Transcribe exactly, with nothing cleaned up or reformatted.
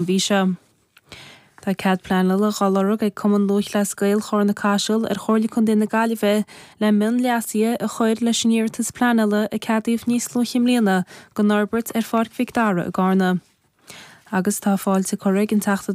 mhí seo. Tá cead pleanála á lorg ag Cumann Lúthchleas Gael Charna Caiseal ar Chomhairle Contae na Gaillimhe le mionleasuithe a chur leis an iarratas pleanála a ceadaíodh níos luaithe i mbliana don fhorbairt ar Pháirc Mhic Dara i gCarna. Agus tá fáilte curtha ag an Teachta